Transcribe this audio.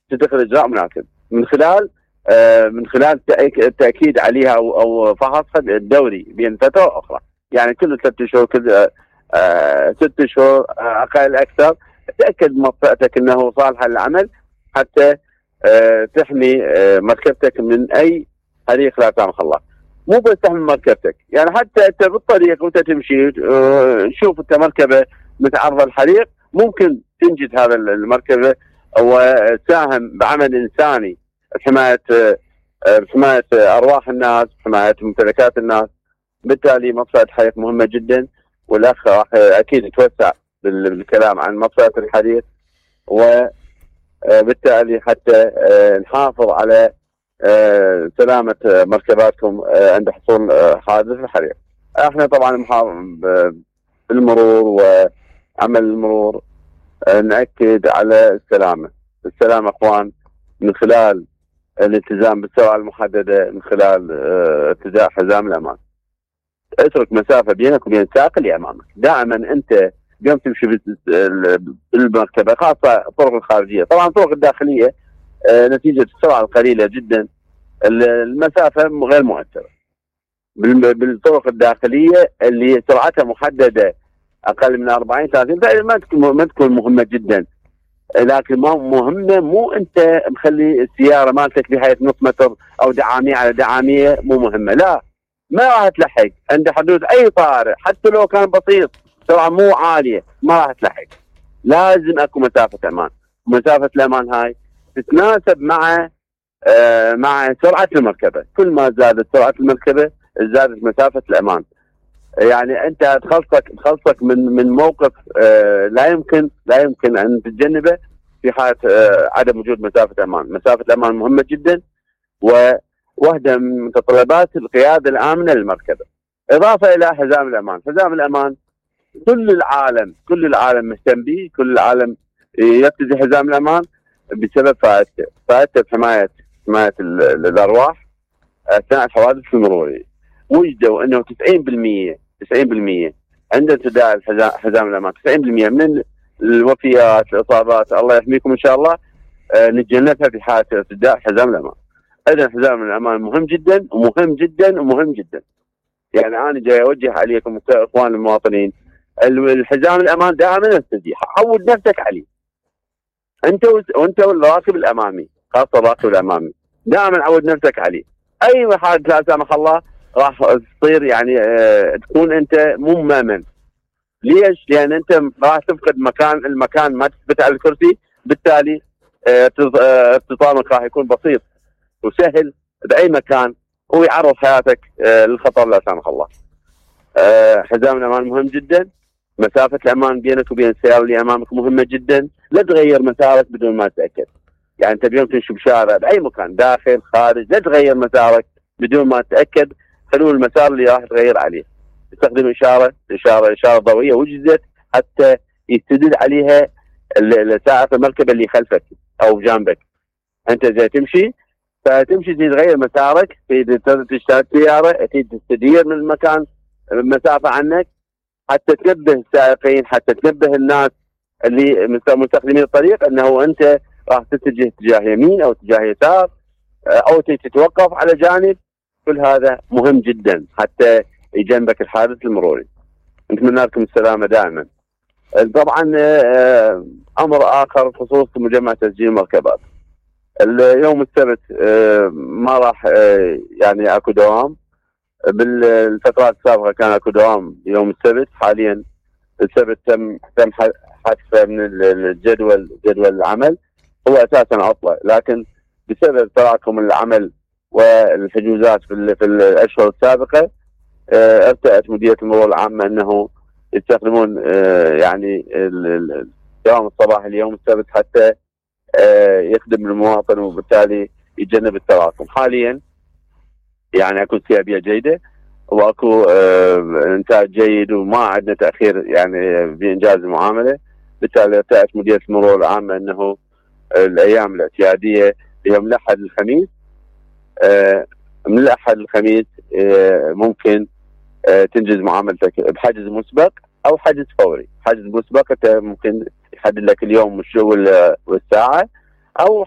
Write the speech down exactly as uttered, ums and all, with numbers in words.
تتخذ اجراء مناسب من خلال من خلال التاكيد عليها او او فحصها الدوري بين فتره واخرى، يعني كل ثلاث اشهر كل ست اشهر اقل اكثر تاكد مرفأتك انه صالحه للعمل حتى تحمي مركبتك من اي حريق لا سامح الله. مو بس تحمي مركبتك، يعني حتى انت بالطريق وانت تمشي تشوف انت مركبه متعرضه للحريق ممكن تنجد هذا المركبه وتساهم بعمل انساني بحمايه بحمايه ارواح الناس، بحمايه ممتلكات الناس. بالتالي مطفأة الحريق مهمه جدا، والاخ راح اكيد يتوسع بالكلام عن مطفأة الحريق، وبالتالي حتى نحافظ على سلامه مركباتكم عند حصول حادث الحريق. احنا طبعا بالمرور وعمل المرور نأكد على السلامه، السلامه اخوان من خلال الالتزام بالسرعه المحدده، من خلال ارتداء حزام الامان. اترك مسافه بينك وبين السائق اللي امامك، دائما انت قم تمشي بالمركبه خاصه الطرق الخارجيه، طبعا الطرق الداخليه نتيجه السرعه القليله جدا المسافه غير مؤثره. بالطرق الداخليه اللي سرعتها محدده اقل من أربعين ثلاثين ما تكون ما تكون مهمه جدا، لكن ما مهمه مو انت مخلي السياره مالتك بحيث نص متر او دعاميه على دعاميه مو مهمه، لا ما راح تلحق عند حدود اي طارئ حتى لو كان بسيط سرعه مو عاليه ما راح تلحق. لازم اكو مسافه امان، مسافه الامان هاي تتناسب مع آه مع سرعه المركبه، كل ما زادت سرعه المركبه زادت مسافه الامان. يعني انت تخلصك تخلصك من من موقف آه لا يمكن لا يمكن ان تتجنبه في حاله آه عدم وجود مسافه امان. مسافه الامان مهمه جدا وواحده من متطلبات القياده الامنه للمركبه. اضافه الى حزام الامان، حزام الامان كل العالم كل العالم مهتم به، كل العالم يرتدي حزام الامان بسبب فائدته، فائدته بحمايه حمايه الارواح اثناء الحوادث المروريه. وجدوا انه تسعين بالمئة تسعين بالمئة عند ارتداء الحزام حزام الامان تسعين بالمئة من الوفيات الاصابات الله يحميكم ان شاء الله نتجنبها في حاله ارتداء حزام الامان. اذا حزام الامان مهم جدا ومهم جدا ومهم جدا. يعني انا جاي اوجه عليكم اخوان المواطنين، الحزام الامان دائما ارتديه، عود نفسك عليه انت وانت والراكب الامامي، خاصه الراكب الامامي دائما عود نفسك عليه. اي حادث لا سامح الله راح تصير يعني اه تكون انت مو مامن. ليش؟ لان انت راح تفقد مكان المكان ما تثبت على الكرسي، بالتالي اه ارتطامك راح يكون بسيط وسهل باي مكان ويعرض حياتك اه للخطر لا سامح الله. اه حزام الامان مهم جدا، مسافه الامان بينك وبين السياره اللي امامك مهمه جدا، لا تغير مسارك بدون ما تتاكد. يعني انت اليوم تمشي بشارع باي مكان داخل خارج لا تغير مسارك بدون ما تتاكد حلول المسار اللي راح تغير عليه. تستخدم اشاره اشاره اشاره ضوئيه وجدت حتى يستدل عليها سائق المركبه اللي خلفك او جنبك. انت جاي تمشي فتمشي تغير مسارك، تشترك سياره تستدير من المكان مسافه عنك حتى تنبه السائقين، حتى تنبه الناس اللي مستخدمين الطريق انه انت راح تتجه اتجاه يمين او اتجاه يسار او تتوقف على جانب. كل هذا مهم جدا حتى يجنبك الحادث المروري. نتمنى لكم السلامه دائما. طبعا امر اخر بخصوص مجمع تسجيل المركبات، اليوم السبت ما راح يعني اكو دوام، بالفترات السابقه كان اكو دوام يوم السبت، حاليا السبت تم تم حذفه من الجدول جدول العمل، هو اساسا عطله، لكن بسبب تراكم العمل والحجوزات في, في الاشهر السابقه ارتأت مديريه المرور العامه انه يستخدمون يعني الدوام الصباحي اليوم السبت حتى يخدم المواطن وبالتالي يتجنب التراكم. حاليا يعني اكو استجابه جيده واكو انتاج جيد وما عندنا تاخير يعني بانجاز المعامله، بالتالي ارتأت مديريه المرور العامه انه الايام الاعتياديه يوم الاحد الخميس من الاحد الخميس ممكن تنجز معاملتك بحجز مسبق او حجز فوري. حجز مسبق انت ممكن يحدد لك اليوم والساعه، او